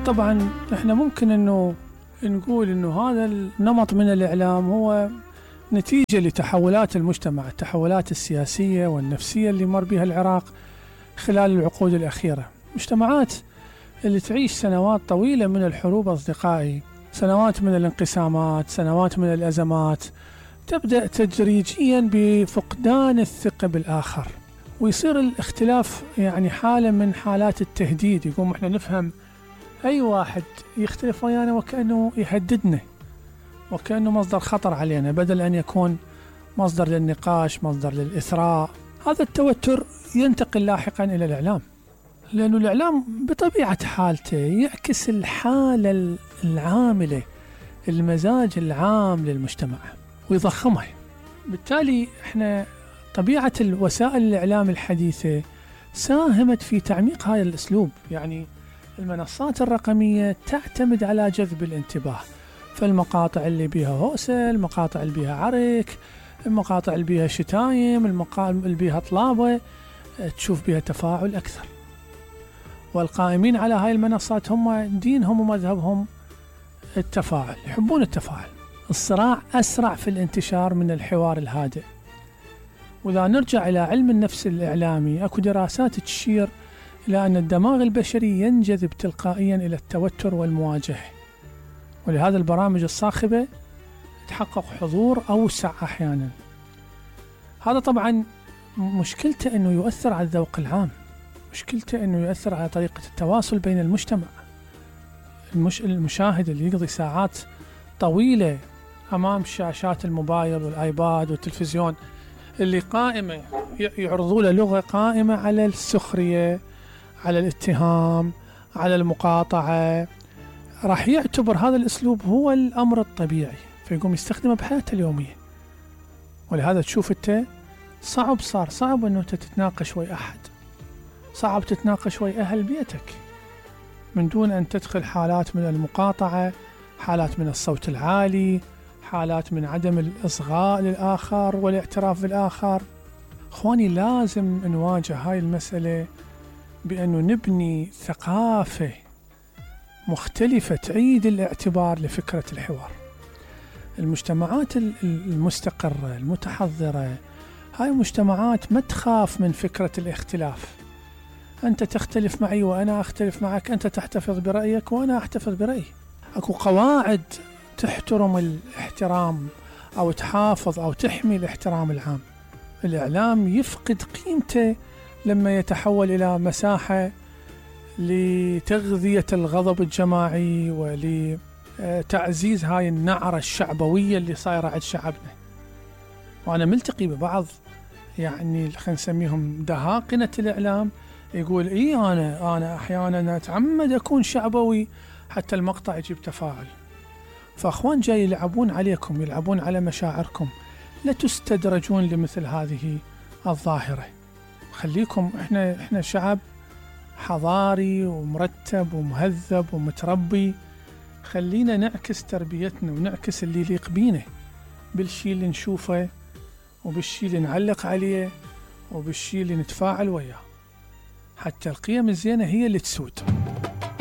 طبعا احنا ممكن انه نقول انه هذا النمط من الاعلام هو نتيجة لتحولات المجتمع، التحولات السياسية والنفسية اللي مر بها العراق خلال العقود الأخيرة. مجتمعات اللي تعيش سنوات طويلة من الحروب أصدقائي، سنوات من الانقسامات، سنوات من الأزمات، تبدأ تدريجيا بفقدان الثقة بالآخر، ويصير الاختلاف يعني حالة من حالات التهديد. يقوم احنا نفهم أي واحد يختلف ويانا وكأنه يهددنا، وكأنه مصدر خطر علينا، بدل أن يكون مصدر للنقاش، مصدر للإثراء. هذا التوتر ينتقل لاحقا إلى الإعلام، لأنه الإعلام بطبيعة حالته يعكس الحالة العاملة، المزاج العام للمجتمع ويضخمها. بالتالي احنا طبيعة الوسائل الإعلام الحديثة ساهمت في تعميق هذا الأسلوب. يعني المنصات الرقمية تعتمد على جذب الانتباه، فالمقاطع اللي بيها هوسة، المقاطع اللي بيها عرك، المقاطع اللي بيها شتايم، المقاطع اللي بيها طلابة، تشوف بيها تفاعل أكثر. والقائمين على هاي المنصات هم دينهم ومذهبهم التفاعل، يحبون التفاعل. الصراع أسرع في الانتشار من الحوار الهادئ. وإذا نرجع إلى علم النفس الإعلامي، أكو دراسات تشير إلى أن الدماغ البشري ينجذب تلقائيا إلى التوتر والمواجهة، ولهذا البرامج الصاخبة تحقق حضور أوسع أحيانا. هذا طبعا مشكلته أنه يؤثر على الذوق العام، مشكلته أنه يؤثر على طريقة التواصل بين المجتمع. المشاهد اللي يقضي ساعات طويلة أمام شاشات الموبايل والآيباد والتلفزيون، اللي قائمة يعرضوا له لغة قائمة على السخرية، على الاتهام، على المقاطعة، راح يعتبر هذا الأسلوب هو الأمر الطبيعي، فيقوم يستخدمه بحياته اليومية. ولهذا تشوف أنت صار صعب أنه تتناقش ويا أحد، صعب تتناقش ويا أهل بيتك من دون أن تدخل حالات من المقاطعة، حالات من الصوت العالي، حالات من عدم الإصغاء للآخر والاعتراف بالآخر. أخواني، لازم نواجه هاي المسألة بأنه نبني ثقافة مختلفة تعيد الاعتبار لفكرة الحوار. المجتمعات المستقرة المتحضرة هاي مجتمعات ما تخاف من فكرة الاختلاف. أنت تختلف معي وأنا أختلف معك، أنت تحتفظ برأيك وأنا أحتفظ برأيي. أكو قواعد تحترم الاحترام أو تحافظ أو تحمي الاحترام العام. الإعلام يفقد قيمته لما يتحول إلى مساحة لتغذية الغضب الجماعي ولتعزيز هاي النعرة الشعبوية اللي صايرة عند شعبنا. وأنا ملتقي ببعض يعني خلينا نسميهم دهاقنة الإعلام، يقول أنا أحيانا أتعمد أكون شعبوي حتى المقطع يجيب تفاعل. فأخوان جاي يلعبون عليكم، يلعبون على مشاعركم، لا تستدرجون لمثل هذه الظاهرة. خليكم، إحنا شعب حضاري ومرتب ومهذب ومتربي، خلينا نعكس تربيتنا ونعكس اللي يليق بينا بالشي اللي نشوفه وبالشي اللي نعلق عليه وبالشي اللي نتفاعل وياه، حتى القيم الزينة هي اللي تسود.